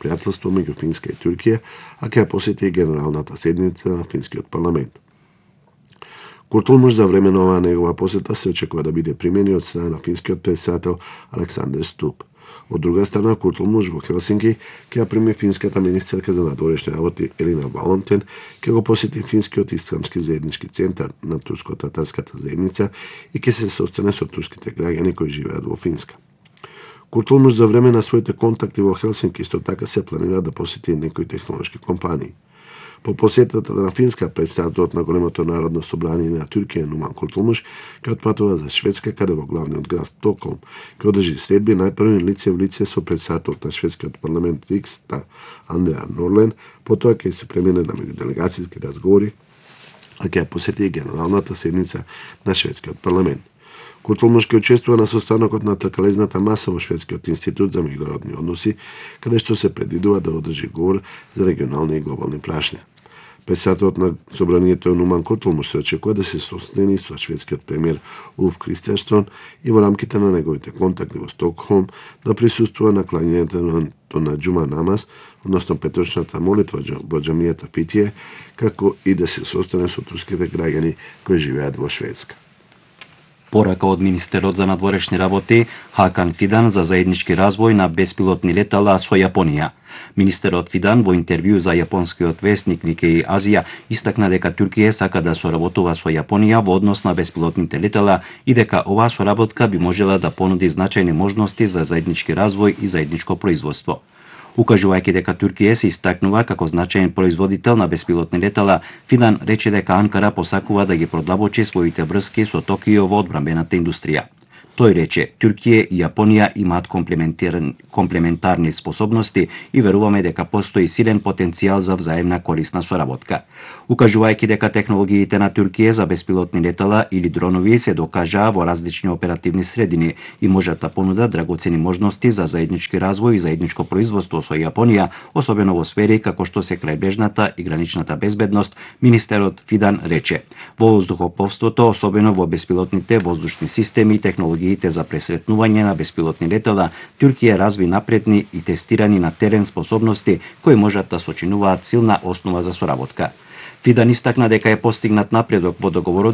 пријателство меѓу Финска и Туркија, а ќе ја посети генералната седница на финскиот парламент. Куртулмуш за време на оваа негова посета се очекува да биде примени од страна на финскиот претседател Александер Ступ. Од друга страна, Куртулмуш во Хелсинки ќе ја прими финската министерка за надворешни работи Елина Валонтен, ќе го посети финскиот исламски заеднички центар на турско-татарската заедница и ќе се состане со турските граѓани кои живеат во Финска. Куртулмуш за време на своите контакти во Хелсинки исто така се планира да посети некои технолошки компании. По посетата на Финска, претседателот на големото народно собрание на Туркија Нуман Куртулмуш ќе отпатува за Шведска, каде во главниот град Стокхолм ќе одржи следби најпрви лице в лице со претседателот на шведскиот парламент Рикстаг Андреа Норлен, потоа ќе се премине на меѓуделегацијски разговори, а ќе ја посети генералната седница на шведскиот парламент. Куртулмуш ќе учествува на состанокот на тркалезната маса во Шведскиот институт за меѓународни односи, каде што се предвидува да одржи говор за регионални и глобални прашања. Претседателот на собранието Нуман Куртулмуш се очекува да се состани со шведскиот премиер Улф Кристерсон и во рамките на неговите контакти во Стокхолм да присуствува на клањањето на џума намаз, односно петочната молитва во џамијата Фитие, како и да се состане со турските граѓани кои живеат во Шведска. Порака од министерот за надворешни работи Хакан Фидан за заеднички развој на беспилотни летала со Јапонија. Министерот Фидан во интервју за јапонскиот весник Никеј Азија истакна дека Туркија сака да соработува со Јапонија во однос на беспилотните летала и дека оваа соработка би можела да понуди значајни можности за заеднички развој и заедничко производство. Укажувајќи дека Туркија се истакнува како значаен производител на беспилотни летала, Фидан рече дека Анкара посакува да ги продлабочи своите врски со Токио во одбранбената индустрија. Тој рече, Туркија и Јапонија имаат комплементарни способности и веруваме дека постои силен потенцијал за взаемна корисна соработка. Укажувајќи дека технологиите на Туркија за беспилотни летала или дронови се докажаа во различни оперативни средини и можат да понудат драгоцени можности за заеднички развој и заедничко производство со Јапонија, особено во сфери како што се крајбрежната и граничната безбедност, министерот Фидан рече. Во воздухопловството, особено во беспилотните воздушни системи и технологиите за пресретнување на беспилотни летала, Туркија разви напредни и тестирани на терен способности кои можат да сочинуваат силна основа за соработка. Фидан истакна дека е постигнат напредок во договорот